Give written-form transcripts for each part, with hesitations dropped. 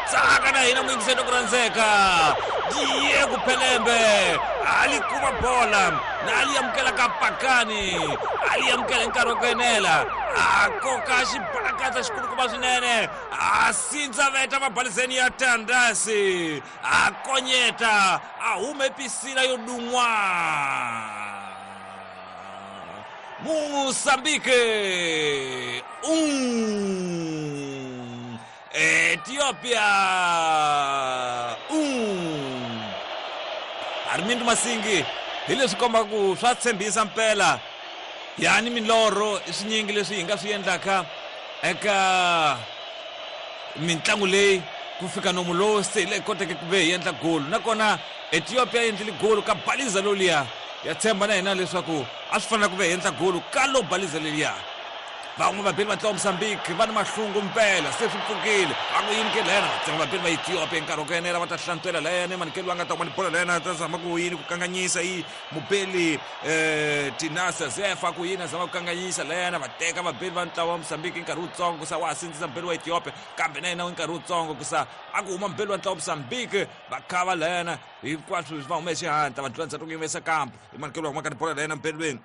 Tsaka na hina muyingiseri ku rhandzeka. Diego Pelembe a li kuma bola na a li amukela ka pakani, a li amukela hi nkarhi wa ku enela, a koka xibalakatsa xikulukumba swinene, a sindza veta mabalizeni ya Tandasi, a konyeta, a hume pisila yo dun'wa. Moçambique 1, Ethiopia 1. Armindo Masingi hi leswi kombaka ku swa tshembisa mpela yani milorho i swinyingi leswi hi nga swi endlaka eka mintlangu leyi ku fika nomu lowu se hi leyi koteke ku ve hi endla golu nakona Ethiopia yi endlile golu ka baliza loliya ya tshemba na hina leswaku a swi fanela ku ve hi endla golu ka lo baliza leliya. Van'we vabeli va ntlawa Mozambique va ni mahlungu mpela se swi pfukile va ku yini ke layana vatsonga vabeli va Ethiopia nkarhi wa ku enela va ta hlantswela layana manikelo a nga ta kuma ni bola layana ta zama ku yini ku kanganyisa yi mubeli Tinasa Zefa ku yini a zama ku kanganyisa layana va teka vabeli va ntlawa wa Mozambique nkarhi wutsongo ku sa wa ha sindzisa mubeli wa Ethiopia kambe na yena nkarhi wutsongo ku sa a ku huma mubeli wa ntlawa wa Mozambique va khava layana hinkwaswo va hume xihatla va tlula ndzhaku ku yimesa kampo i manikelo wa humaka ni bola layana mubelweni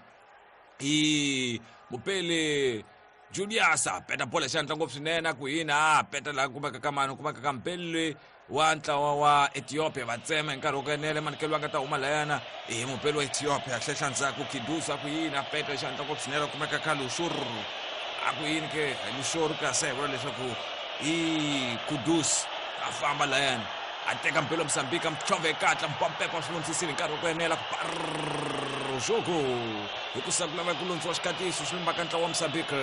i mupeli Julius a peta bola xihatla ngopfu swinene a ku yini a peta laha kumeka ka mani kumeka ka mupeli loyi wa ntlawa wa Ethiopia va tsema hi nkarhi wa ku enela manikelo a nga ta huma layana i mupeli wa Ethiopia hlehla ndzhaku Kidusa a ku yini a peta xihatla ngopfu swinene kumeka ka Lushur a ku yini ke Lushur kasi a hi vula leswaku i Kudus a famba layana a teka mpelo Mozambique a mtlhove ekatla mpampepa swi vonisisile hi nkarhi wa ku enela ku jogo hi ku sa ku lava ku lundziwa xikatiso swi lumbaka ntlawa wa Mozambique.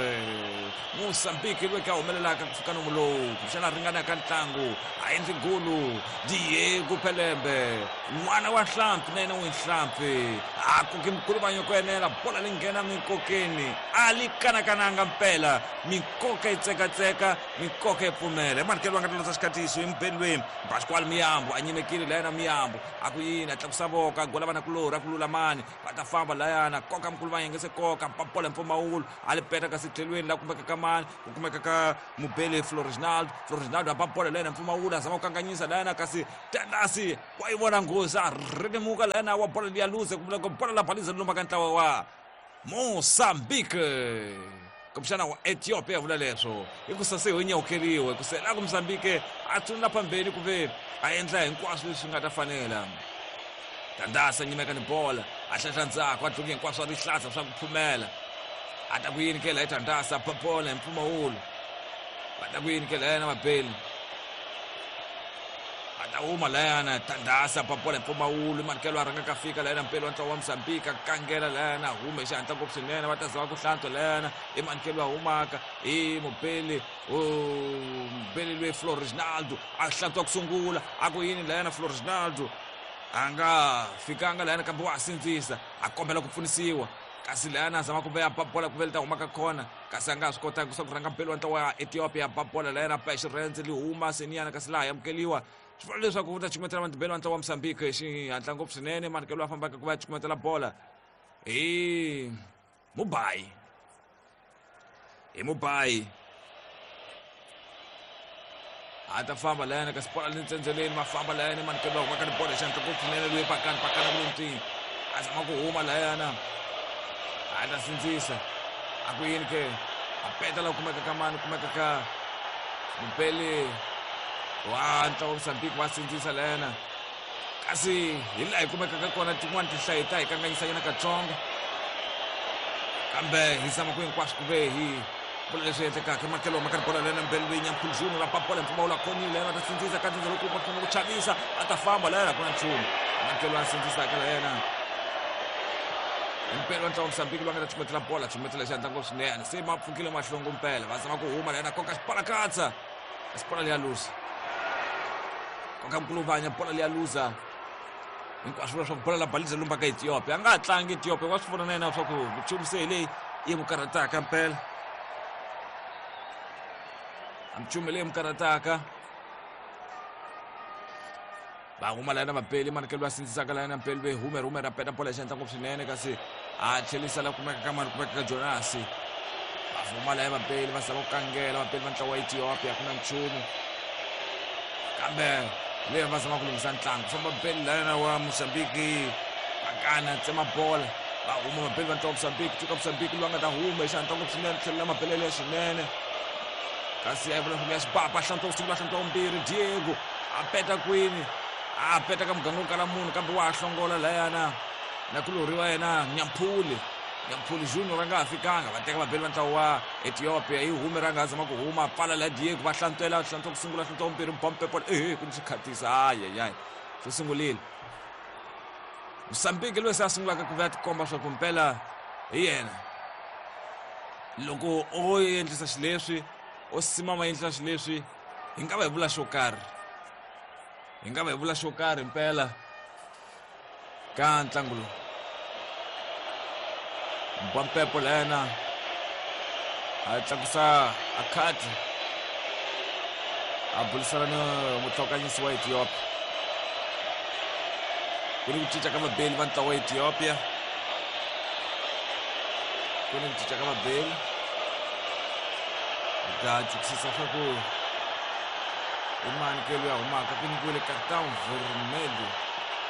Mozambique loyi ka humelelaka ku fika nomu lowu kumbexana ringanaka ntlangu a endli golu Diego Pelembe n'wana wa nhlampfi na yena n'wi nhlampfi a koki mukuluvanyo ku enela bola leyi nghena minkokeni a li kanakananga mpela minkoka yi tsekatseka minkoka yi pfumela emanikelo va nga ta landza xikatiso hi mubeli loyi Pascual Miyambo a nyimekile layana Miyambo a ku yini a tlakusa voko a gola vanakulorhi a ku lulamani va ta famba layana koka mukulu va yengese koka papola mpfumawulo a li peta kasi tlhelweni la kumeka ka mani ku kumeka ka mubeli Florinaldo Florinaldo a ba bola layana mpfumawulo a zama ku kanganyisa layana kasi Tandasi wa yi vona nghozi a rhetemuka layana wa bola liya luze kumbe bola la baliza lomba ka ntlawa wa Mozambique kumbexana wa Ethiopia vula leswo hikusa se ho nyawukeriwe ku se la ku Mozambique a tsundza phambeni ku ve a endla hinkwaswo leswi nga ta fanela Tandasa nyimeka ni bola a hlahla ndzhaku a dluki hinkwaswo a rihlaza swa ku phumela a ta ku yini ke la Tandasa ba bola hi mpfumawulo va ta ku yini ke la yena mabeli a ta huma layana Tandasa ba bola hi mpfumawulo manikelo a rhanga ka fika layana mpelo wa ntlawa wa Mozambique a kangela layana hume xihatla ngopfu swinene va ta zama ku hlantswa layana i manikelo a humaka i mubeli mubeli loyi Florinaldo a hlantswa ku sungula a ku yini layana Florinaldo a nga fikanga layana kambe wa ha sindzisa a kombela ku pfunisiwa kasi layana a zama ku veya ba bola ku ve li ta humaka khona kasi a nga ha swi kotanga ku sa ku rhanga mpelo wa ntlawa wa Ethiopia ba bola layana ba xirhendze li huma seniyana kasi laha amukeliwa swi vula leswaku u ta cukumetela matibelo wa ntlawa wa Mozambique hi xihatla ngopfu swinene manikelo a fambaka ku va ya cukumetela bola hi Mubayi hi Mubayi a ta famba layana kasi bola le ntsendzeleni va famba layana manikelo va humaka ni bola xihatla ngopfu swinene loyi pakani pakana ku le a zama ku huma layana a ta sindzisa a ku yini ke a peta la kumeka ka mani kumeka ka mupeli wa ntlawa wa Mozambique va sindzisa layana kasi hi laha hi kumekaka kona tin'wani tinhlayo ta hi kanganyisanyana katsongo kambe hi zama ku hinkwaswo ku ve hi vula leswi endlekaka emakelo ma karhi bola lena mbelweni ya mkhuluzulu ra papola mpfumawulo a khomile va ta sindzisa ka ndzindza loko va ku chavisa a ta famba layena ku na nchumu makelo a sindzisaka la yena mpela wa ntlawa Mozambique loyi a nga ta chumetela bola chumetela xihatla ngopfu swinene se ma pfukile mahlongo mpela va zama ku huma la yena koka xipalakatsa kasi bola liya luza koka mkuluvanya bola liya luza hinkwaswo vula swa ku bola la baliza lumba ka Ethiopia a nga ha tlangi Ethiopia wa swi vona na yena swa ku nchumu se hi leyi yi n'wi karhataka mpela a minchumu leyi n'wi karhataka va huma layana vapeli manikelo va sindzisaka layana mpeli ve hume hume ra peta bola xihatla ngopfu swinene kasi a tlhelisa la kumeka ka mani kumeka ka Jonasi va huma laya vapeli va zama ku kangela vapeli va ntlawa wa Ethiopia ku na nchumu. Kambe leyi va zama ku lunghisa ntlangu. Famba beli layana wa Mozambique. Pakana tsema bola. Va huma mabeli va ntlangu Mozambique. Tuka Mozambique loyi a nga ta huma hi xihatla ngopfu swinene tlhelo la mabelele ya swinene. Kasi a yi vula ya xibaba hlantswa ku sungula hlantswa vumbirhi Diego a peta kwini a peta ka muganga wo kala munhu kambe wa ha hlongola layana na kulorhi wa yena Nyamphuli. Nyamphuli Junior a nga ha fikanga va teka vabeli va ntlawa wa Ethiopia yi hume ra nga ha zama ku huma pfala la Diego va hlantswela hlantswa ku sungula hlantswa vumbirhi bompepo ehe ku ni xikhatisa ayayay swi sungulile. Mozambique loyi se a sungulaka ku va tikomba swa ku mpela hi yena loko o endlisa xileswi o simama endlisa xileswi hi nga va hi vula xo karhi hi nga va hi vula xo karhi mpela ka ntlangu lowu. Mbampepo layana a tlakusa a khadi a burisana ni mutlhokanyisi wa Ethiopia. Ku ni ku cinca ka vabeli va ntlawa wa Ethiopia. Ku ni ku cinca ka vabeli. Hi ta chukisisa swa ku i mani ke loyi a humaka ku nyikiwile cartão vermelho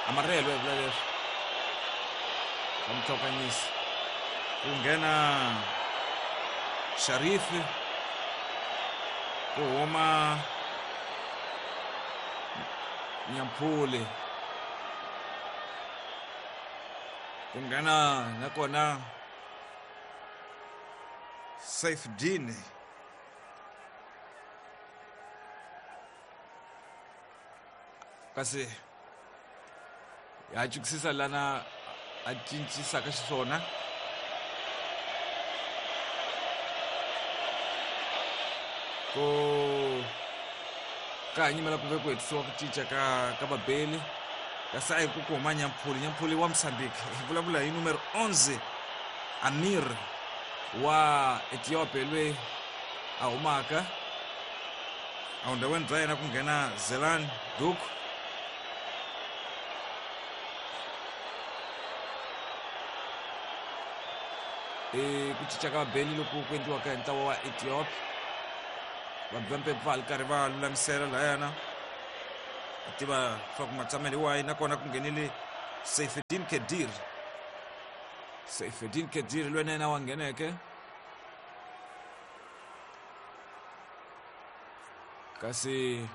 amarelo ya vula leswi ka mutlhokanyisi ku nghena Sharifi ku huma Nyamphuli ku nghena nakona Saifdini kasi ya chukisisa lana a cincisaka xiswona ku ka ha nyimela ku ve ku hetisiwa ku cinca ka ka vabeli kasi a hi ku ku huma Nyamphuli. Nyamphuli wa Mozambique hi vulavula hi numero 11 Amir wa Ethiopia loyi a humaka evundhaweni bya yena ku nghena Zelan Duk. I ku cinca ka vabeli loku ku endliwaka hi ntlawa wa Ethiopia. Vanhu va mpepfu va ha ri karhi va lulamisela layana a tiva swa ku matshamelo hi wahi nakona ku nghenile Seifedin Kedir. Seifedin Kedir loyi na yena wa ngheneke kasi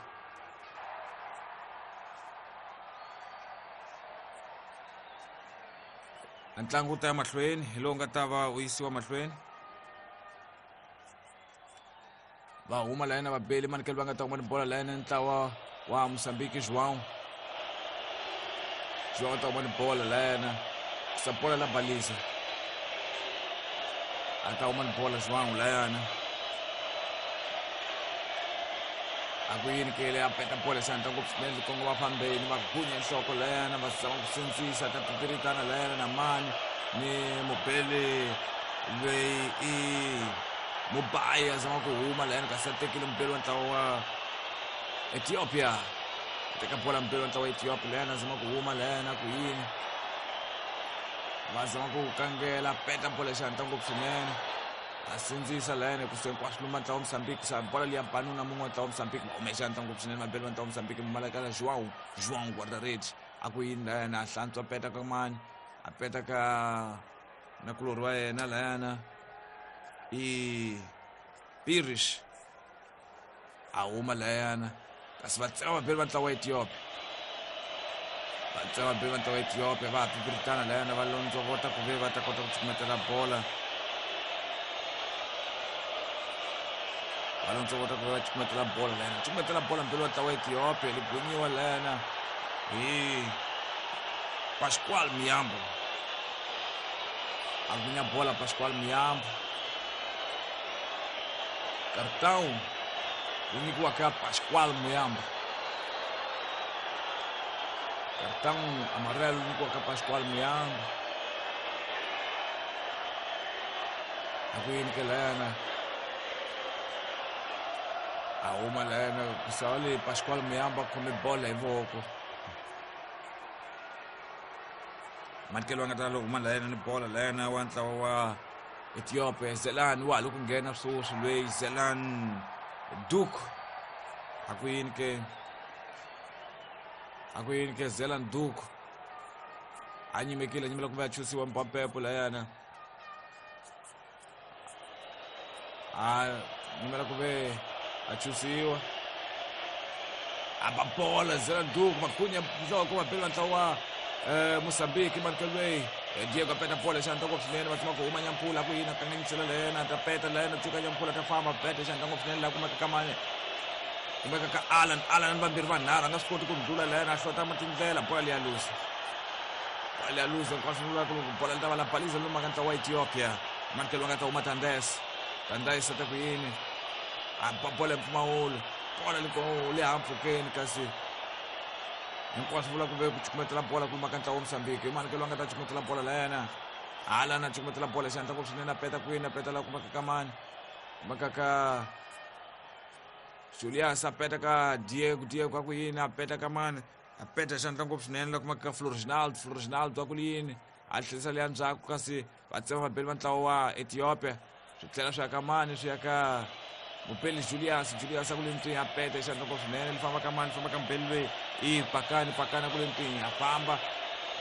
ntlangu wu ta ya mahlweni hi lowu nga ta va wu yisiwa mahlweni. Va huma layena vabeli manikelo va nga ta huma ni bola layena ntlawa wa Mozambique João. João ta huma ni bola layena sa bola la balisa a ta huma ni bola João layana a ku yini kele a peta bola xandla ngopfu swinene kongoma fambeni va gunya nhloko layana va zama ku sindzisa ta tiviritana layana na mani ni mubeli loyi i Mubayi a zama ku huma layani kasi a tekile mubeli wa ntlawa wa Ethiopia. A teka bola mubeli wa ntlawa wa Ethiopia layani a zama ku huma layani a ku yini va zama ku kangela peta bola xihatla ngopfu swinene a sindzisa layani ku hinkwaswo luma ntlawa wa Mozambique sa bola liya banuna mun'we wa ntlawa wa Mozambique va hume xihatla ngopfu swinene vabeli va ntlawa wa Mozambique Malakala João João guarda-redes a ku yini layani a hlantswa peta ka mani a peta ka nakulorhi wa yena layana i Pirish a huma layana kasi va tsema vabeli va ntlawa wa Ethiopia va tsema vabeli va ntlawa wa Ethiopia va ha pipiritana layana va londzovota ku ve va ta kota ku cukumetela bola va londzovota ku ve va cukumetela bola layana cukumetela bola mbeli wa ntlawa wa Ethiopia ligunyiwa layana hi Pascual Miyambo a gunya bola Pascual Miyambo cartão wu nyikiwaka Pascual Muyambo cartão amarelo wu nyikiwaka Pascual Muyambo a ku yini ke layana a huma layana ku sava le Pascual Muyambo a khome bola hi voko manikelo a nga ta lo huma layana ni bola layana wa ntlawa wa Ethiopia Zelan wa ha loko nghena sweswi loyi Zelan Duk a ku yini ke A ku yini ke Zelan Duke a nyimekile, a nyimela kumbe a chusiwa Mpampepo layana, a nyimela ku ve a chusiwa, a ba bola Zelan Duke, makhunya nhloko vabeli va ntlawa wa Mozambique. Manukelweyi Diego a peta bola xandla ngopfu swinene, va tsama ku huma Nyampula, ku yini a kanganyisela layena, ta peta layena, tsuka Nyampula ta famba peta xandla ngopfu swinene, laha kumeka ka mani, kumeka ka Alan, Alan vambirhi vanharhu, a nga swi koti ku ndlula layena, a hlota tindlela, bola liya lusa, bola liya lusa, hinkwaswo swi vula ku bola li ta va la baliza lomu ka ntlawa wa Ethiopia. Manukel wa nga ta huma Tandes, Tandes a ta ku yini, a ba bola hi mpfumawulo, bola le hampfhukeni, kasi hinkwaswo vula ku ve ku cukumetela bola ku lumaka ntlawa wa Mozambique. Hi Manukel wa nga ta cukumetela bola layena, Alan a cukumetela bola xandla ngopfu swinene, a peta kwini, a peta laha kumeka ka mani, kumeka ka Julius, a peta ka Diego, Diego a ku yini, a peta ka mani, a peta xandla ngopfu swinene laha kumeka ka Floriginaldo, Floriginaldo a ku yini, a tlherisa leya ndzhaku, kasi va tsema vabeli va ntlawa wa Ethiopia, swi tlhela swi ya ka mani, swi ya ka mubeli Julius, Julius a ku le ntwini, a peta xandla ngopfu swinene, li famba ka mani, famba ka mubeli loyi i Pakani, Pakani a ku le ntwini, a famba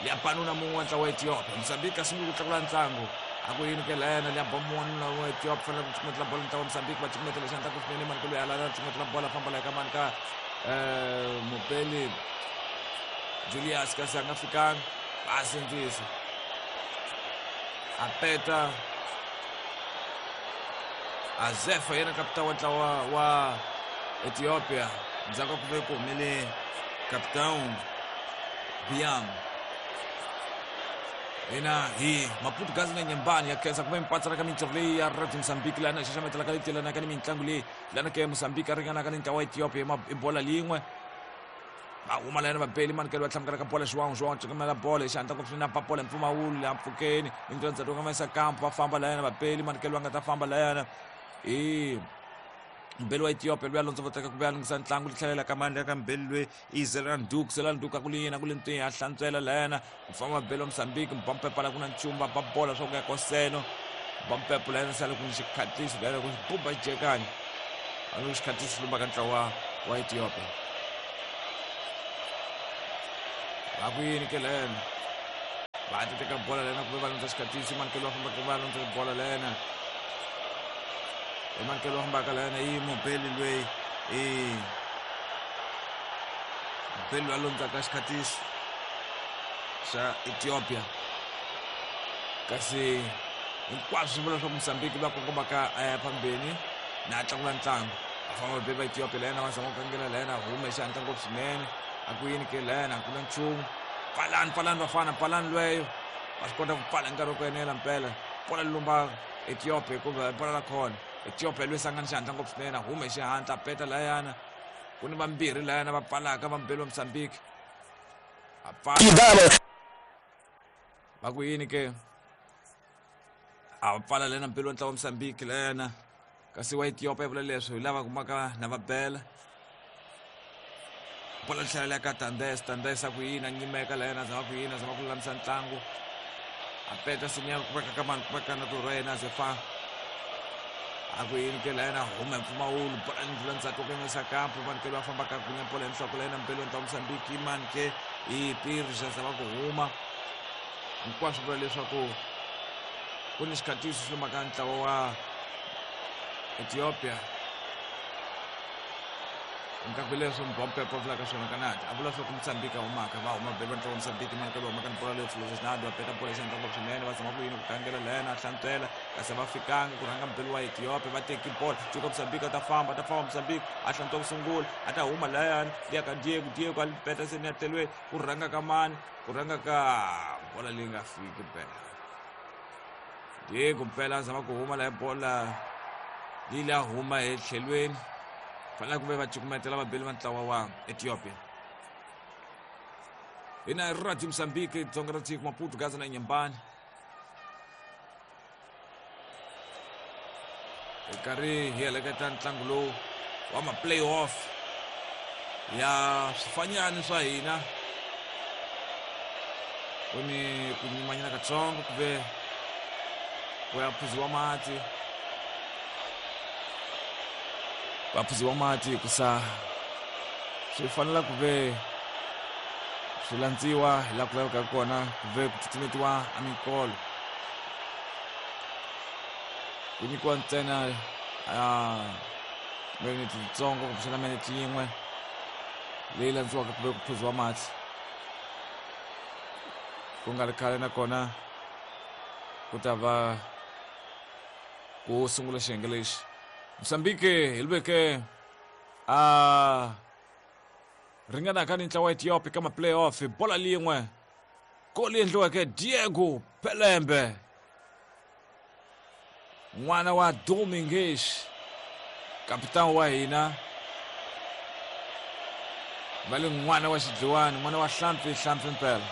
liya banuna mun'we wa ntlawa wa Ethiopia. Mozambique a sungule ku tlakula ntlangu, a ku yini ke layena, liya ba mun'wana wa Ethiopia, fanele ku cukumetela bola ntlawa wa Mozambique, va cukumetela xandla ngopfu swinene, mani loyi alala cukumetela bola, famba laya ka mani, ka mubeli Julius, kasi a nga fikanga, va sindzisa, a peta Azefa, yena kapita wa ntlawa wa Ethiopia, ndzhaku ka ku ve ku humele capitão Biam. Hina hi Maputo Gazi na Nyembani ya khensa ku ve mipatsana ka mintirho leyi ya Radio Mozambique, laha na xaxametelaka leyi telanaka ni mitlangu leyi lana ke Mozambique a ringanaka ni ntlawa wa Ethiopia hi bola lin'we. Va huma layena vabeli, Manukel va tlhamukela ka bola, João, João cukumela bola hi xihatla ngopfu swinene, a ba bola hi mpfumawulo laha mpfhukeni, mintirho ndzhaku ka mesa kampo, va famba layena vabeli, Manukel va nga ta famba layena hi mbeli wa Ethiopia luya londzo voteka ku vuya lunghisa ntlangu, li tlhelela ka mani, ka mbeli loyi i Zelan Duke, Zelan Duke a ku li yini, a ku li ntwihi, a hlantswela layena ku famba vabeli wa Mozambique, Mpampepa la ku na nchumu, va ba bola swa ku ya koseno, Mpampepo layena sale ku ni xikhatisi layena ku xibuba xijekani, a ni xikhatisi xi lumba ka ntlawa wa Ethiopia. Va ku yini ke lena, va ta teka bola lena kumbe va landza xikhatisi, Mankelo va fambaka va landza bola lena, i Mankelo va fambaka lena, i mubeli loyi, i mubeli loyi a londzaka xikhatisi xa Ethiopia, kasi hinkwaswo swi vula leswaku Mozambique va kongomaka a ya phambeni na tlakula ntlangu. Va famba vabeli va Ethiopia layena, va zama ku kangela layena, hume xihatla ngopfu swinene, a ku yini ke layena, a ku na nchumu, pfalani, pfalani vafana, pfalani lweyo, va swi kota ku pfala hi nkarhi wa ku enela mpela, bola lumba Ethiopia hikuva bola la khona Ethiopia lweyi sangani xihatla ngopfu swinene, hume xihatla peta layana, ku ni vambirhi layana va pfalaka vambirhi va Mozambique, a pfala va ku yini ke, a pfala lena mpilo wa ntlawa wa Mozambique lena, kasi wa Ethiopia vula leswi hi lava kumaka na va bela bola tlhela ka Tandes, Tandes a ku yini, a nyimeka lena, zama ku yini, zama ku lulamisa ntlangu, a peta sinya ku veka ka mani, ku veka na toro yena Zefa, a ku yini ke lena, huma hi mpfumawulo, bola ni ndlula ndzhaku ka ngesa kampo, mani ke loyi a fambaka gunya bola hi nhloko lena, mpelo ntlawa Mozambique, mani ke i Pirja, zama ku huma, hinkwaswo vula leswaku ku ni xikhatiso xi lumaka ntlawa wa Ethiopia. Nkaku leswo Mbompepo a vulaka swona kanati, a vula swa ku Mozambique a humaka, va huma beli va ntlawa wa Mozambique, mani va humaka ni bola leyo Florzinado, va peta bola xandla ngopfu swinene, va zama ku yini ku kangela lena, a hlantswela, kasi va fikanga ku rhanga mbeli wa Ethiopia, va teki bola cuka Mozambique, a ta famba, a ta famba Mozambique, a hlantswa ku sungula, a ta huma layani liya ka Diego, Diego a peta se ni ya tlhelweni, ku rhanga ka mani, ku rhanga ka bola leyi nga fiki mpela, Diego mpela a zama ku huma laha, bola leyi la huma hi tlhelweni, fanele ku ve va cukumetela vabeli va ntlawa wa Ethiopia. Hina Radio Mozambique, Dzonga ra tiko, Maputo, Gaza na Nyembani, hi karhi hi heleketa ntlangu lowu wa ma-playoff ya swifanyani swa hina, ku ni ku nyimanyana katsongo ku ve ku ya phuziwa mati, va phuziwa mati hikusa swi fanela ku ve Swi landziwa hi laha ku lavekaka kona ku ve ku tsutsumetiwa a minkolo. Ku nyikiwa ntsena a minete yitsongo kumbexana minete yin'we leyi landziwaka ku ve ku phuziwa mati. Ku nga ri khale nakona ku ta va ku sungula xiyenge lexi. Mozambique hi veke a ringanaka ni ntlawa wa Ethiopia ka ma-playoff hi bola lin'we goli endliweke Diego Pelembe n'wana wa Domingues kapitani wa hina va le n'wana wa xidliwani n'wana wa hlampfi hlampfi mpela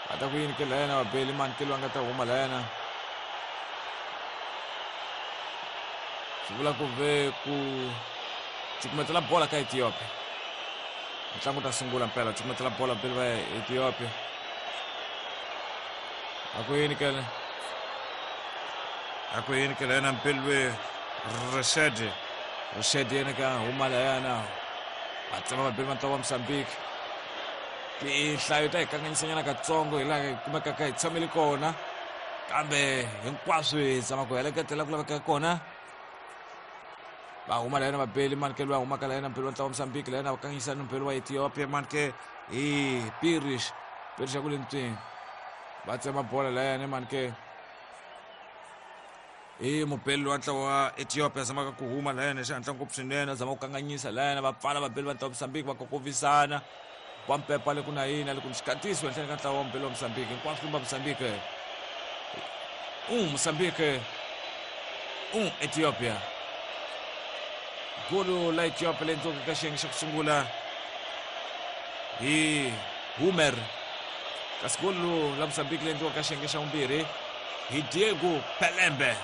va ta ku yini ke layena vabeli mani ke loyi a nga ta huma layena swi vula ku ve ku cukumetela bola ka Ethiopia ntlangu ta sungula mpela cukumetela bola beli va Ethiopia a ku yini kele a ku yini kele yena mpilwe Rashid Rashid yena ka huma layana va tsema vabeli va ntlawa wa Mozambique tinhlayo ta hi kanganyisanyana katsongo hi laha hi kumekaka hi tshamele kona kambe hinkwaswo hi zama ku heleketela ku laveka kona va huma la yena vabeli manike loyi a humaka la yena mbeli wa ntlawa wa Mozambique la yena va kanganyisa ni mbeli wa Ethiopia manike hi Pirish Pirish ya ku le ntswini va tsema bola la yena manike hi mubeli wa ntlawa wa Ethiopia a zamaka ku huma la yena hi xihatla ngopfu swinene a zama ku kanganyisa la yena va pfala vabeli va ntlawa wa Mozambique va kokovisana wa mpepa le ku na yini a le ku ni xikatisi henhleni ka ntlawa wa mubeli wa Mozambique hinkwaswo lumba Mozambique Mozambique Ethiopia golo la Ethiopia leyi endliweke ka xiyenge xa ku sungula hi Humer kasi golo la Mozambique leyi endliweke ka xiyenge xa vumbirhi hi Diego Pelembe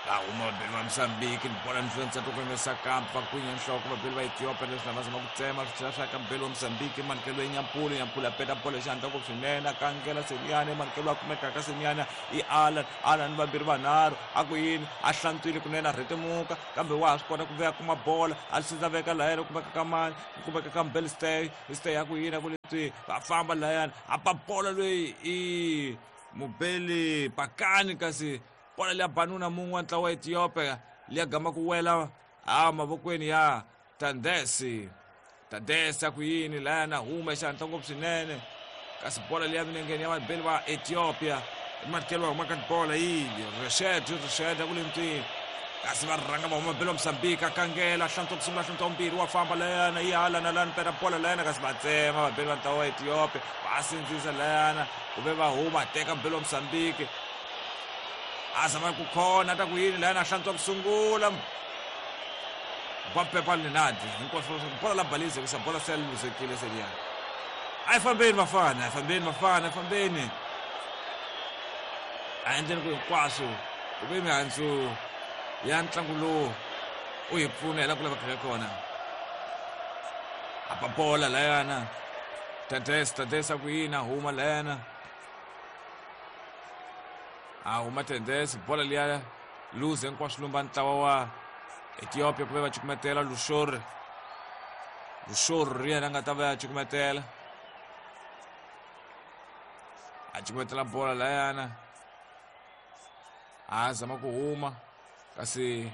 va huma vabeli va Mozambique ni bola ndlwentsa to kongesa kampa va kwinya nhloko vabeli va Ethiopia leswi lava zama ku tsema swi tlhela swi ya ka mubeli wa Mozambique manikelo ya Nyampulu Nyampulu a peta bolo hi xihatla ngopfu swinene a kangela Seniana manikelo a kumekaka Seniana i Alan Alan vambirhi vanharhu a ku yini a hlantswile kunene a rhetemuka kambe wa ha swi kota ku vuya kuma bola a swi veka lahayana kumeka ka mani kumeka ka mubeli Stay Stay a ku yini a ku leswi va famba lahayana a ba bola loyi i mubeli Pakani kasi bola liya banuna mun'we wa ntlawa wa Ethiopia liya gama ku wela a mavokweni ya Tandesi Tandesi a ku yini layana huma xihatla ngopfu swinene kasi bola liya milengeni ya vabeli va Ethiopia matikelo va huma ka bola yi Rashid Rashid a ku le ntwini kasi va rhanga va huma beli wa Mozambique a kangela hlantswa ku sungula hlantswa vumbirhi wa famba layana yi hala na lani peta bola layana kasi va tsema vabeli va ntlawa wa Ethiopia va sindzisa layana ku ve va huma teka mubeli wa Mozambique a zama ku khona ta ku yini layana a hlantswa ku sungula va pepa linadi hinkwaswo bola la balize kusa bola se luzekile seliyani a yi fambeni vafana a yi fambeni vafana a yi fambeni a endleni ku hinkwaswo ku ve mihandzu ya ntlangu lowu u hi pfuna hi la ku lavekaka kona a ba bola layana Tades Tades a ku yini a huma layana a huma Tades bola liya luze hinkwaswo lumba ntlawa wa Ethiopia ku ve va cukumetela Lushori Lushori ri yena a nga ta va ya cukumetela a cukumetela bola layana a zama ku huma kasi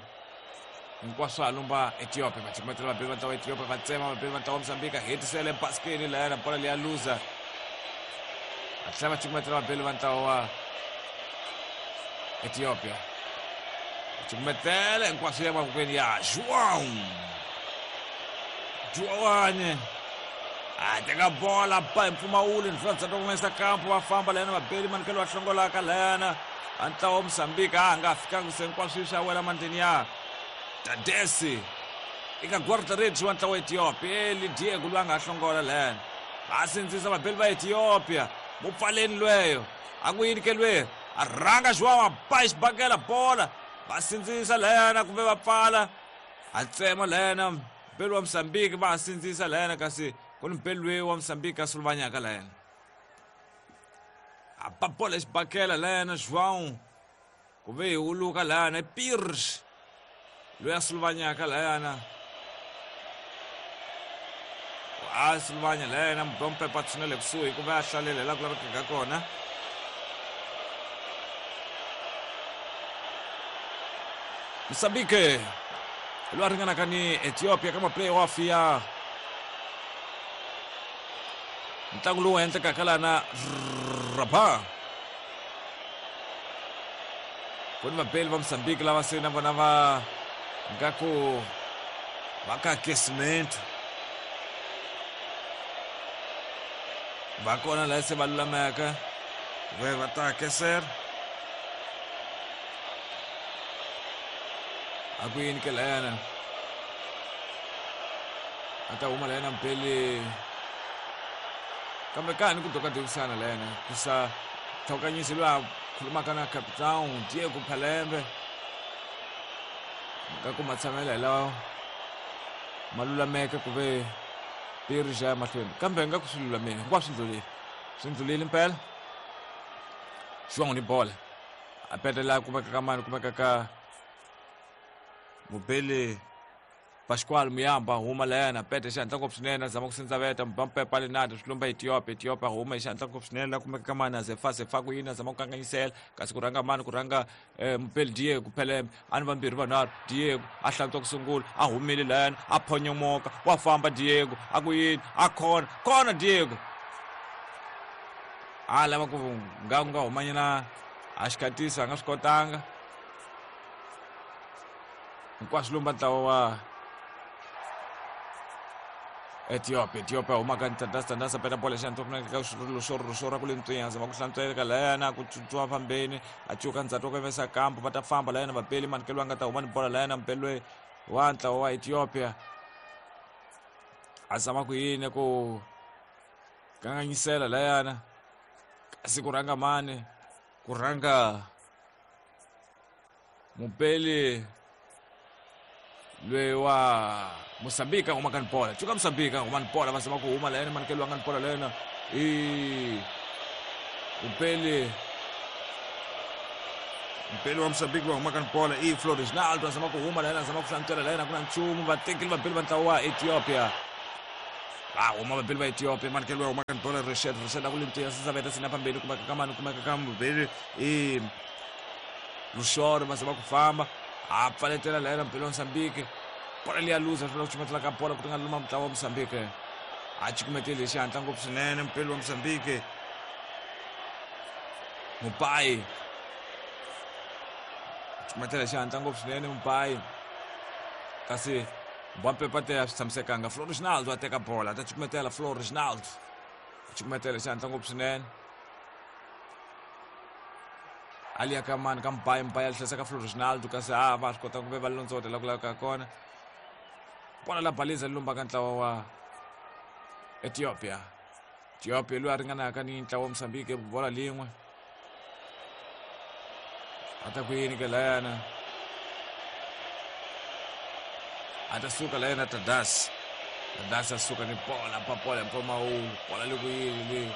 hinkwaswo a lumba Ethiopia va cukumetela vabeli va ntlawa Ethiopia va tsema vabeli va ntlawa Mozambique hetisele basikeni layana bola liya luza va tlhela va cukumetela vabeli va ntlawa wa Ethiopia va cukumetela hinkwaswo ya mavokweni ya João Joane a teka bola ba hi mpfumawulo ndlula ndzhaku ka kumesa kampo va famba layana vabeli manikelo va hlongolaka layana a ntlawa wa Mozambique a nga fikanga se hinkwaswo swi ya wela mandleni ya Tadesi eka guarda-redes wa ntlawa wa Ethiopia Eli Diego loyi a nga hlongola layana va sindzisa vabeli va Ethiopia mupfaleni lweyo a ku yini ke lweyo a rhanga João a ba xibakela bola va sindzisa layana kumbe va pfala a tsema layana mbeli wa Mozambique va ha sindzisa layana kasi ku ni mbeli loyi wa Mozambique a suluvanyaka layana a ba bola xibakela layana João ku ve hi wuluka layana Pires loyi a suluvanyaka layana A Silvanya lena Mbompe patshunele kusuhi ku va a hlalela laha ku lavekaka kona. Mozambique loyi a ringanaka ni Ethiopia ka ma-playoff ya ntlangu lowu endlekaka lana Rabat. Ku ni vabeli va Mozambique lava se na vona va nga ku va ka aquecimento va kona laha se va lulameka ve va ta aquecer a ku yini ke layana a ta huma layana mpeli kambe ka ha ni ku dokadokisana layana ku sa tlhokanyisi loyi a khulumaka na capitão Diego Palembe nga ku matshamela hi lawa ma lulameke ku ve ri xa ya mahlweni kambe nga ku swi lulamile hinkwaswo swi ndlulile swi ndlulile mpela João ni bola a petela kumeka ka mani kumeka ka mubeli Pascual Muyamba huma layana pete xihatla ngopfu swinene a zama ku sindzaveta mubampepa Leonardo swi lumba Ethiopia Ethiopia huma hi xihatla ngopfu swinene la kumeka ka mani a zefa zefa ku yini a zama ku kanganyisela kasi ku rhanga mani ku rhanga mupeli Diego Phelembe a ni vambirhi vanharhu Diego a hlantswa ku sungula a humile layana a phonyomoka wa famba Diego a ku yini a khona khona Diego a lava ku nga ku nga humanyana a xikatisa a nga swi kotanga hinkwaswo lomba ntlawa wa Ethiopia Ethiopia humaka Tandasa Tandasa peta bola xana ka swilo swo ra ku le ntswinya zama ku hlantsweka layana ku tsutsuma fambeni a cuka ndzhaku wa ku vesa kampo va ta famba layana vapeli manikelo a nga ta huma ni bola layana mpelwe wa ntlawa wa Ethiopia a zama ku yini ku kanganyisela layana kasi ku rhanga mani ku rhanga mupeli loyi wa Mozambique a humaka ni bola cuka Mozambique a huma ni bola va zama ku huma layena manikelo a nga ni bola layena i mupeli mpeli wa Mozambique loyi humaka ni bola i Floresnaldo a zama ku huma layena a zama ku hlantswela layena ku na nchumu vatekeli vabeli va ntlawa wa Ethiopia va huma vabeli va Ethiopia manikelo loyi humaka ni bola Reshed Reshed a ku le ntiya sisaveta sina phambili kumeka ka mani kumeka ka mubeli i Luxoro va zama ku famba a pfaletela layena mpelo wa Mozambique bola leya luza swi vula ku chumetela ka bola ku ti nga luma mutlawa wa Mozambique a cukumeteli hi xihatla ngopfu swinene mpelo wa Mozambique Mupai cukumetela hi xihatla ngopfu swinene Mupai kasi Mbampepa a swi tshamisekanga Floresnaldo a teka bola a ta cukumetela Floresnaldo a cukumetela hi xihatla ngopfu swinene ali ya ka mani ka Mbayi Mbayi a hlesa ka Floresnaldo kasi a va swi kota ku ve va londzota la ku laveka kona bola la baliza li lumbaka ntlawa wa Ethiopia Ethiopia loyi a ringanaka ni ntlawa wa Mozambique bola lin'we a ta ku yini ke layana a ta suka layana Tadas Tadas a suka ni bola pa bola mpfumawulo bola le ku yini le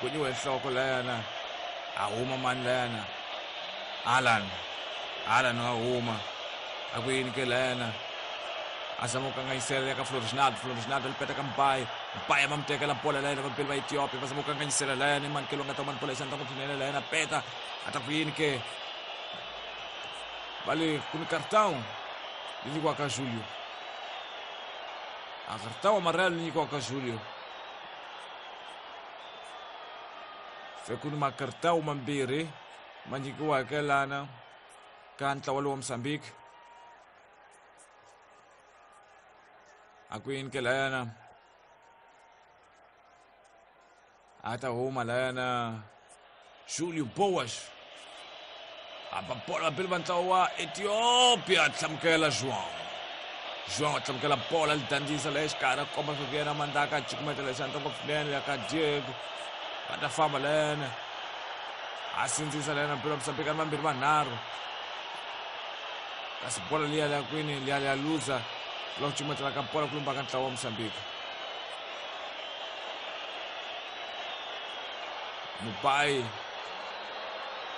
kunyiwe nhloko layana a huma mani layana Alan Alan a huma a ku yini ke layana a zama ku kanganyisela ya ka Floresnaldo Floresnaldo li peta ka Mbayi Mbayi va mu tekela bola layena vabeli va Ethiopia va zama ku kanganyisela layana manikelo nga ta huma ni bola xandla ngopfu swinene layena peta a ta ku yini ke va le ku ni cartão li nyikiwaka Julio a cartão amarelo li nyikiwaka Julio se ku ni makartão mambirhi ma nyikiwaka lana ka ntlawa lowa Mozambique a ku yini ke layana a ta huma layana Julio Boas a ba bola vabeli va ntlawa wa Ethiopia a hlamukela João João a hlamukela bola li dandzisa la exikarhi a komba swa ku yena mandaka a cukumetela xandla ngopfu swinene ya ka Diego va ta famba layena a sindzisa layena mpilo wa Mozambique a ri vambirhi vanharhu kasi bola liya liya kwini liya liya luza la ku cukumetela ka bola ku lumba ka ntlawa wa Mozambique Mupai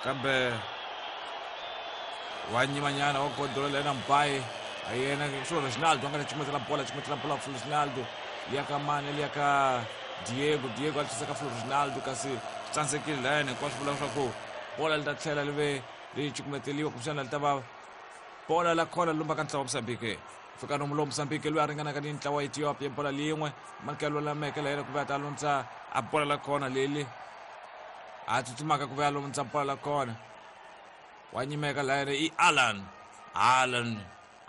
kambe wa nyimanyana wa gondolo lena Mupai a yena Floresnaldo a nga ta cukumetela bola cukumetela bola Floresnaldo Liya ka mani, liya ka Diego. Diego a tlhisa ka Ronaldo, kasi swi tsandzekile layani. Hinkwaswo vula leswaku bola li ta tlhela li ve li cukumeteliwa, kumbexana li ta va bola la khona lumba ka ntlawa wa Mozambique. Fika nomu lowu Mozambique loyi a ringanaka ni ntlawa wa Ethiopia, bola lin'we manikelo lameke la yena ku ve a ta lundza a bola la khona leli a tsutsumaka ku ve a lundza bola la khona. Wa nyimeka la yena i Alan. Alan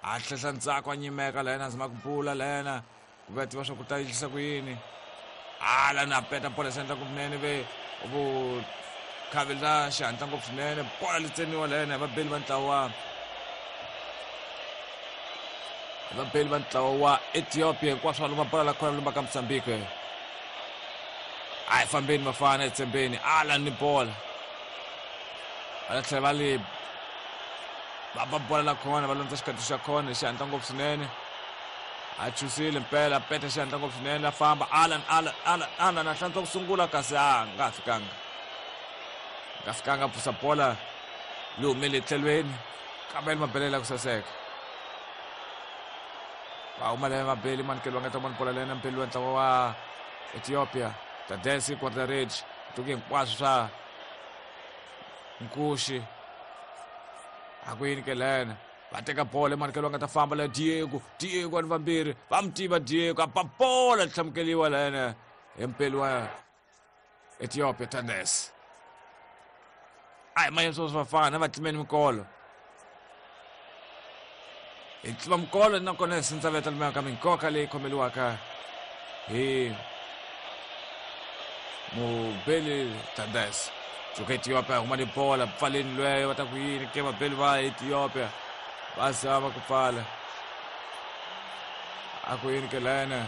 a hlehla ntsako, a nyimeka la yena, a zama ku bula la yena ku ve a tiva swa ku ta endlisa ku yini. Alan a peta bola xi endla ngopfu ve vukhavi la xihatla ngopfu swinene. Bola li tsemiwa la yena hi vabeli va ntlawa vabeli va ntlawa wa Ethiopia. Hinkwaswo va luma bola la khona lumba ka Mozambique. A hi fambeni vafana, hi tshembeni. Alan ni bola va ta tlhela va li va ba bola la khona, va lundza xikati xa khona hi xihatla ngopfu swinene. A chusile mpela, a peta xihatla ngopfu swinene, a famba Alan, Alan, Alan, Alan a hlantswa ku sungula, kasi a nga fikanga, nga fikanga pfusa bola li humele etlhelweni, kambe li mabelela ku saseka. Va huma leyo mabeli manikelo va nga ta vona bola lena mpeli wa ntlawa wa Ethiopia. Tadesi Quartarage tuki hinkwaswo swa nkuxi a ku yini ke lena. Va teka bola emanikelo va nga ta famba la Diego. Diego ani vambirhi va mi tiva Diego, a ba bola li hlamukeliwa lena hi mpeli wa Ethiopia Tadesi. A hi mayeni sweswo vafana va tlimeni mikolo, hi tlima mikolo nakona hi sindza veta lumeka ka minkoka leyi khomeliwaka hi mubeli Tadesi. Suka Ethiopia huma ni bola pfaleni lweyo, va ta ku yini ke vabeli va Ethiopia va zama ku pfala, a ku yini ke lena.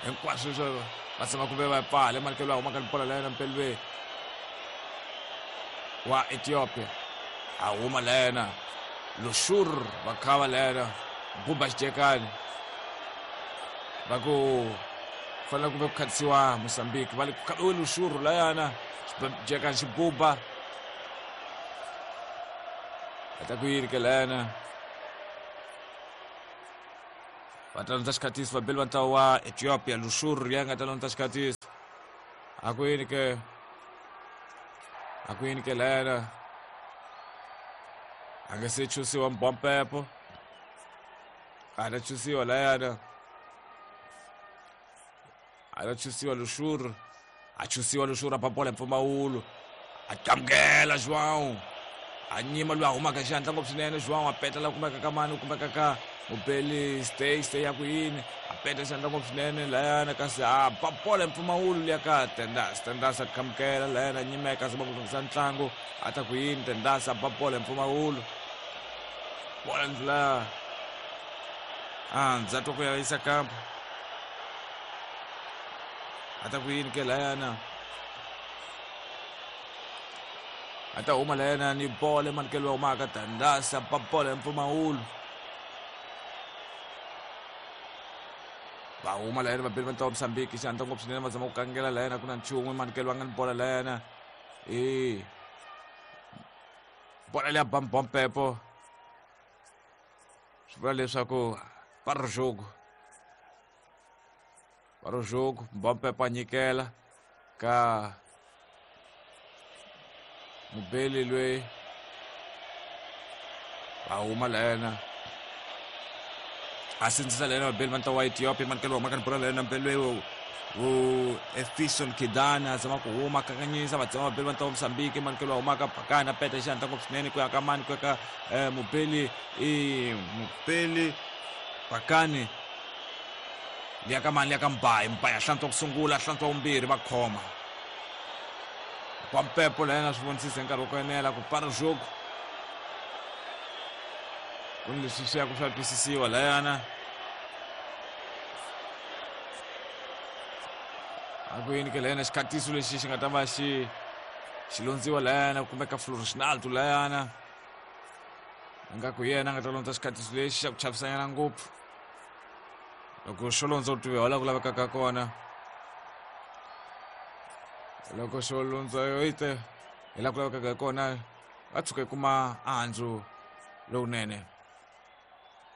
Hinkwaswo leswo va zama ku ve va pfala emanikelo va humaka ni bola lena mpeli ve wa Ethiopia a huma lena Lushur va khava lena buba xijekani, va ku fanele ku ve ku khatisiwa Mozambique, va le ku khaviwe Lushur layana xijekani xi buba a ta ku yini ke lena. Va ta lundza xikhatisi vabeli va ntlawa wa Ethiopia. Lushur ya nga ta lundza xikhatisi, a ku yini ke, a ku yini ke lena. A nga se chusiwa mbompepo, a ta chusiwa layana, a ta chusiwa Lushur, a chusiwa Lushur, a ba bola hi mpfumawulo, a qamukela João, a nyima loyi a humaka xihatla ngopfu swinene. João a peta la kumeka ka mani, kumeka ka mubeli stay stay ya ku yini, a peta xihatla ngopfu swinene layana, kasi a ba bola hi mpfumawulo liya ka Tendas. Tendas a qamukela layana, a nyimeka, a zama ku lunghisa ntlangu, a ta ku yini. Tendas a ba bola hi mpfumawulo, bola ndlula a ndza twa ku ya yisa kampa, a ta ku yini ke layana. A ta huma layana ni bola emanikelo wa humaka Tandasa, ba bola hi mpfumawulo. Va huma layana vabeli va ntlawa wa Mozambique xihatla ngopfu swinene, va zama ku kangela layana, ku na nchumu emanikelo va nga ni bola layana. E bola leya bambompepo swi vula leswaku para jogo, para jogo. Mbompepo a nyikela ka mubeli loyi, va huma layena a sindzisa layena vabeli va ntlawa wa Ethiopia. Manikelo wa humaka ni bola layena mbeli loyi wu Efison Kidana a zama ku huma kanganyisa, va tsema vabeli va ntlawa wa Mozambique. Manikelo wa humaka Bakani a peta xihatla ngopfu swinene ku ya ka mani, ku ya ka mubeli i mubeli Bakani, liya ka mani, liya ka Mbayi. Mbayi a hlantswa ku sungula, a hlantswa vumbirhi, va khoma Kwampepo layena swi vonisisa hi nkarhi wa ku enela ku para jogo. Ku ni leswi swi ya ku swa twisisiwa layana, a ku yini ke layana. Xikhatiso lexi xi nga ta va xi xi londziwa layana kumbe ka Floresnaldo layana, ingaku yena a nga ta londza xikhatiso lexi xa ku chavisanyana ngopfu. Loko xo londza u tiviwa laha ku lavekaka kona, loko xo londza yo ite hi laha ku lavekaka hi kona, va tshuka yi kuma andzu lowunene.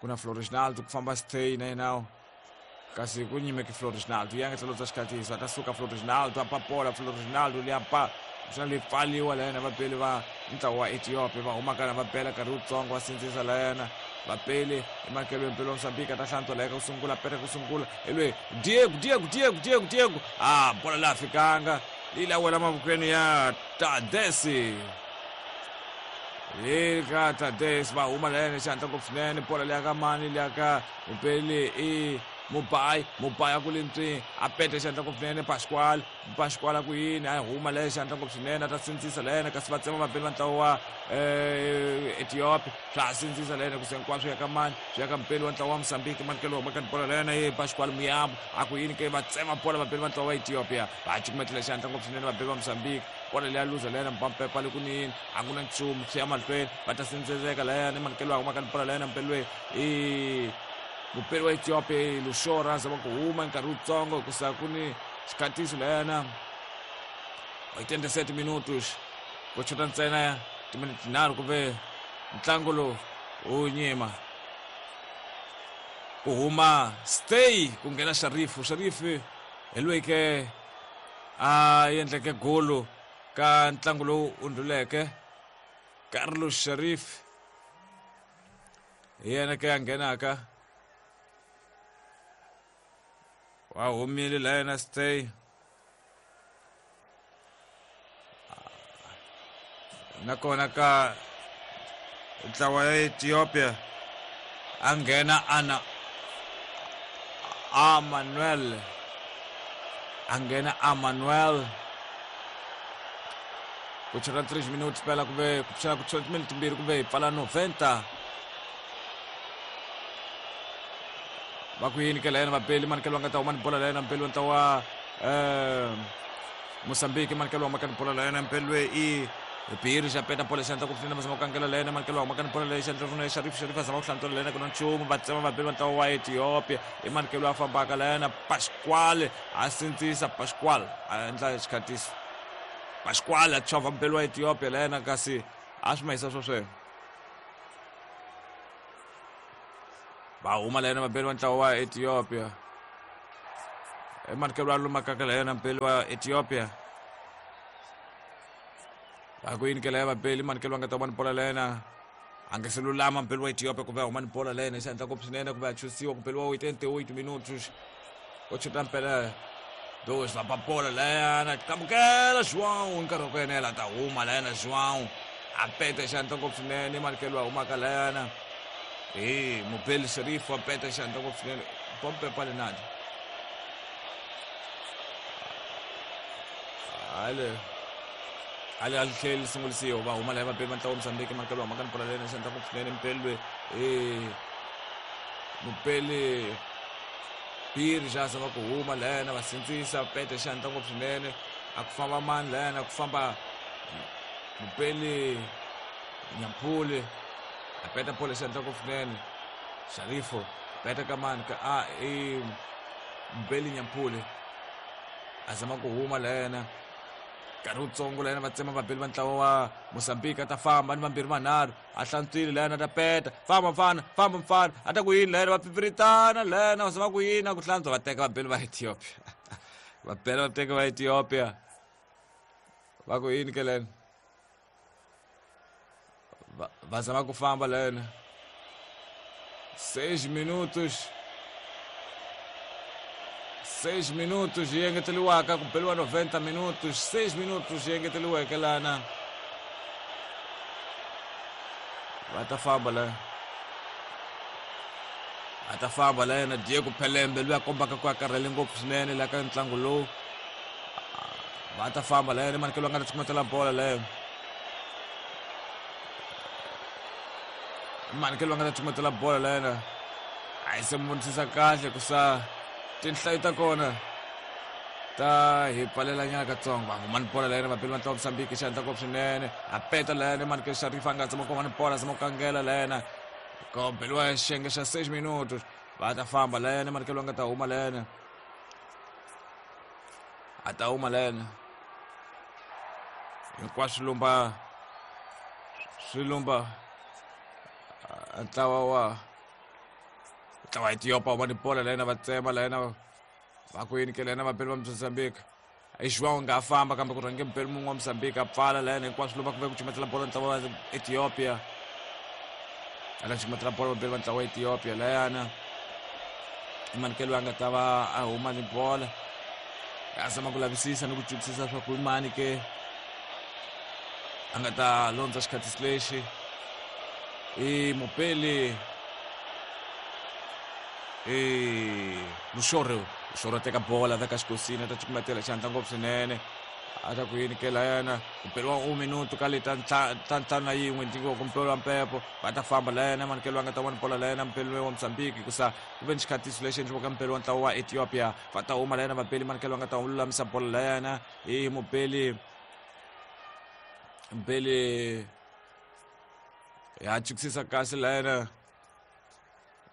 Ku na Floresnaldo ku famba stay na yena Kasi ku nyimeke Floresnaldo ya nga tlhelo bya xikhatiso a ta suka Floresnaldo a papola Floresnaldo liya pa swa le pfaliwa la yena vapeli va ntlawa wa Ethiopia va humaka na va bela nkarhi wutsongo va sindzisa la yena vapeli emakelweni mpeli wa Mozambique a ta hlantswa la ku sungula peta ku sungula hi lweyi Diego Diego Diego Diego Diego a bola la fikanga yi la wela mavokweni ya Tadesi hi ka Tadesi va huma la yena xihatla ngopfu swinene bola liya ka mani liya ka mupeli i Mubai Mubai a ku le ntswini a peta xihatla ngopfu swinene Pasquale Pasquale a ku yini a huma la xihatla ngopfu swinene a ta sindzisa la yena kasi va tsema vapeli va ntlawa wa Ethiopia swa ha sindzisa la yena ku se hinkwaswo ya ka mani swi ya ka mupeli wa ntlawa wa Mozambique manikelo huma ka bola la yena ye Pasquale Muyambo a ku yini ke va tsema bola vapeli va ntlawa wa Ethiopia va cukumetela xihatla ngopfu swinene vapeli va Mozambique bola leya luza la yena mpampepa le kunini a ku na nchumu swi ya mahlweni va ta sindziseka la yena manikelo a huma ka bola la yena mupeli loyi i mupeli wa Ethiopia Lushora a zama ku huma nkarhi wutsongo hikusa ku ni xikhatiso la yena 87 minutos ku chota ntsena timinete tinharhu ku ve ntlangu lowu wu nyima ku huma stay ku nghena Sharifu Sharifu hi loyi ke a endleke golo ka ntlangu lowu undluleke Carlos Sharif hi yena ke a nghenaka wa humile la yena stay nakona ka ntlawa ya Ethiopia a nghena ana Amanuel a nghena Amanuel ku chela 3 minutes phela ku ve ku chela ku chela timinete timbirhi ku ve hi pfala 90 va ku yini ke la yena vapeli manikelo va nga ta huma ni bola la yena mpeli wa ntlawa wa Mozambique manikelo wa maka ni bola la yena mpeli loyi i Biri xa peta bola xandla ku pfuna va zama ku kangela la yena manikelo wa maka ni bola leyi xandla runa Sharif Sharif a zama ku hlantswela la yena ku na nchumu va tsema vapeli va ntlawa wa Ethiopia i manikelo a fambaka la yena Pasquale a sindzisa Pasquale a endla xikhatiso Pasquale a chovha mpeli wa Ethiopia la yena kasi a swi mahisa swo sweswo va huma la yena vapeli va ntlawa wa Ethiopia emanikelo a lumakaka la yena mpeli wa Ethiopia va ku yini ke la ya vapeli manikelo va nga ta huma ni bola la yena a nga se lulama mpeli wa Ethiopia ku ve a huma ni bola la yena xi ngopfu swinene ku ve a chusiwa ku peliwa 88 minutos ko chuta mpela dos va ba bola la yena qambukela João nkarhi wa ku enela ta huma la yena João a peta xandla ngopfu swinene manikelo a humaka la yena hi mubeli Sharif wa peta xandla ngopfu swinene pompe palinadi ale ale a tlheli li sungulisiwa va huma la vapeli va ntlawa Mozambique manikelo a humaka ni bola la yena xandla ngopfu swinene mupeli loyi mupeli Biri xa zama ku huma la yena va sindzisa pete xandla ngopfu swinene a ku famba mani la yena ku famba mupeli Nyampuli a peta bola xandla ngopfu swinene Sharifo peta ka mani ka a i Mupeli Nyampuli a zama ku huma la yena nkarhi wutsongo la yena va tsema vapeli va ntlawa wa Mozambique a ta famba ni vambirhi vanharhu a hlantswile la yena a ta peta famba mfana famba mfana a ta ku yini la yena va pipiritana la yena va zama ku yini a ku hlantswa va teka vapeli va Ethiopia va bela va teka va Ethiopia va ku yini ke lena va zama ku famba la yena 6 minutos 6 minutos yi engeteriwaka ku beriwa 90 minutos 6 minutos yi engeteriweke lana va ta famba la a ta famba la yena Diego Pelembe loyi a kombaka ku a karhele ngopfu swinene la ka ntlangu lowu va ta famba la yena manikelo a nga ta cukumetela bola leyo manikelo a nga ta cukumetela bola la yena a yi se mu vonisisa kahle ku sa tinhlayo ta kona ta hi pfalela nyana katsongo va huma ni bola la yena vapeli va ntlawa Mozambique xandla ngopfu swinene a peta la yena manikelo Sharifa a nga tsama ku huma ni bola zama ku kangela la yena ko beliwa xiyenge xa 6 minutos va ta famba la yena manikelo a nga ta huma la yena a ta huma la yena hinkwaswo lumba swi lumba ntlawa wa Ntlawa Ethiopia huma ni bola layena va tsema layena va ku yini ke layena vapeli va Mozambique. I João nga famba kambe ku rhange mupeli mun'we wa Mozambique a pfala layena hinkwaswo lomu ku ve ku cumetela bolo ntlawa wa Ethiopia. Ala cumetela bolo vapeli va ntlawa wa Ethiopia layana. I loyi a nga ta va a huma ni bola. A zama ku lavisisa ni ku twisisa swa ku i mani ke a nga ta londza xikhatisi lexi. I mupeli i Luxoro. Luxoro a teka bola veka xikosini a ta cukumetela xandla ngopfu swinene. A ta ku yini ke layana ku peliwa 1 minuto ka leta ta 51 nyikiwa ku mpelo wa mpepo va ta famba layana manikelo a nga ta vona bola layana mpeli wa Mozambique hikusa ku ve ni xikhatiso lexi endliwaka mpeli wa ntlawa wa Ethiopia va ta huma layana vapeli manikelo a nga ta lulamisa bola layana i mupeli mpeli ya chukisisa kahle layana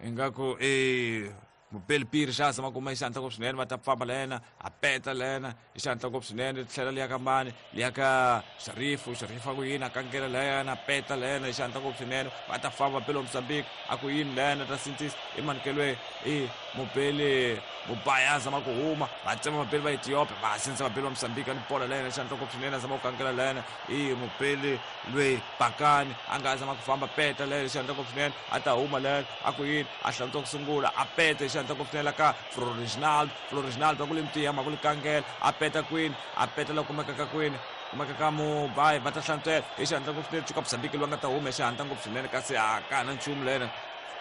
ingaku i mupeli piri xa zama kuma hi xihantla ngopfu swinene va ta famba layena a peta layena hi xihantla ngopfu swinene tlhela liya ka mani liya ka Sharifu. Sharifu a ku yini a kangela layena a peta layena hi xihantla ngopfu swinene va ta famba vapeli wa Mozambique a ku yini layena ta sindzisa i manikelwe i mupeli Mubaya a zama ku huma va tsema vapeli va Ethiopia va sindzisa vapeli va Mozambique a ni bola layena hi xihantla ngopfu swinene a zama ku kangela layena i mupeli lweyi Bakani a nga zama ku famba peta layena hi xihantla ngopfu swinene a ta huma layena a ku yini a hlantswa ku sungula a peta hi xihantla ngopfu swinene la ka Floriginaldo. Floriginaldo a ku le mutiya ma ku li kangela a peta kwini a peta la kumekaka kwini kumeka ka Mubai va ta hlantswela hi xihantla ngopfu swinene cuka Mozambique loyi a nga ta huma hi xihantla ngopfu swinene kasi a ka na nchumu lena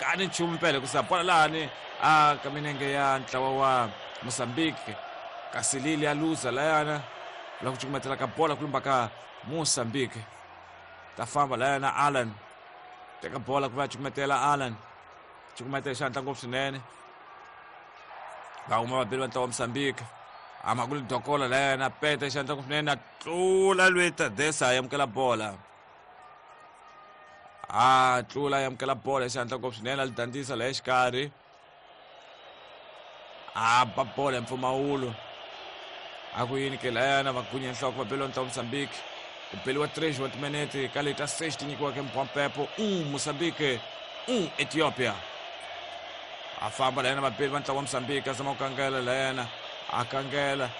ka ni nchumu mpela hikusa bola lahani a ka minenge ya ntlawa wa Mozambique kasi lili ya luza layana la ku cukumetela ka bola ku lumba ka Mozambique ta famba layana Alan teka bola ku va cukumetela Alan cukumetela xihantla ngopfu swinene va huma vapeli va ntlawa wa Mozambique ama ku li dokola layana peta xihantla ngopfu swinene a tlula lweyi Tadesa a amukela bola a tlula a amukela bola xihantla ngopfu swinene a li dandzisa la exikarhi a ba bola hi mpfumawulo a ku yini ke layana va gunya nhloko va beliwa ntlawa Mozambique ku beliwa 3 wa timinete ka leta 6 ti nyikiwaka mpompepo Mozambique Ethiopia a famba layana vapeli va ntlawa wa Mozambique a zama ku kangela layana a kangela